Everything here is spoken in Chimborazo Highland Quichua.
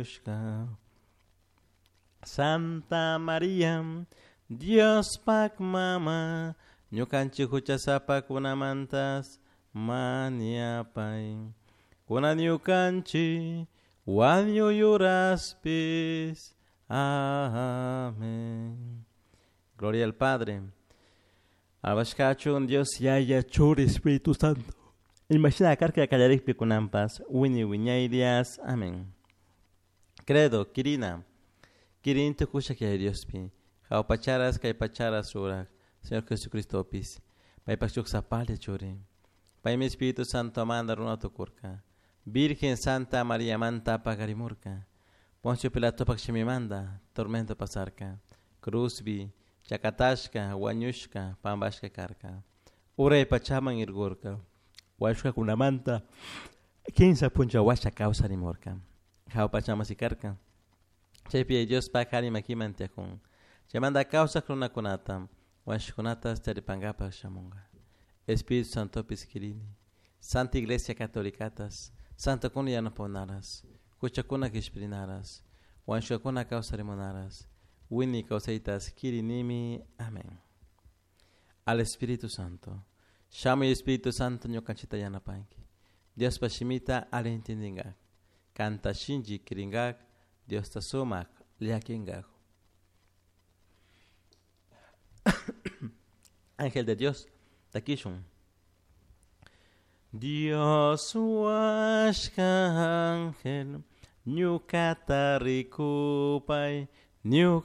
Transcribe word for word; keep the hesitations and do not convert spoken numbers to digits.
shamushka. Santa Maria, Diospak mama, ñukanchik huchasapakunamantas mañapay. Kunan ñukanchik wañuy uraspis. Amén. Gloria al Padre. Alabashkachun Dios Yaya Churi Espíritu Santo. Imashina karka kallarikpi kunanpas wiñay wiñayrias. Amén. Credo, Kirina. Kirin tukushak Yaya Diospi. Jawpacharas kay pacharas rurak. Señor Jesucristopis. Paypak shuk sapalla churi. Paymi Espíritu Santo manda runa tukurka. Virgen Santa María manta pagarimurka. Poncio Pilatopak shimimanta tormento pasarka. Cruzbi, chakatashka, wañushka, pampashka karka. Uray pachaman irgurka. Wañushkakunamanta kinsa puncha washa kawsarimurka. Jahua pachaman sikarka. Chaypi Diospak ari makiman tiyakun. Chaymanta kawsak runakunata wañushkakunatas charipankapak shamunka. Espíritu Santopis kirini. Santa Iglesia Catolicatas, Santokuna yanapakunaras, huchakuna kishpirinaras, wañushkakuna kawsarimunaras, wiñay kawsaytas kirinimi. Amén. Al Espíritu Santo. Shamuy Espíritu Santo ñukanchikta yanapanki. Diospa shimita alli intindingak. Kanta shinchi kiringak, Diosta sumak llakinkak. Ángel de Dios, takishun. Dios huashka ángel, ñukata rikupay, ñuka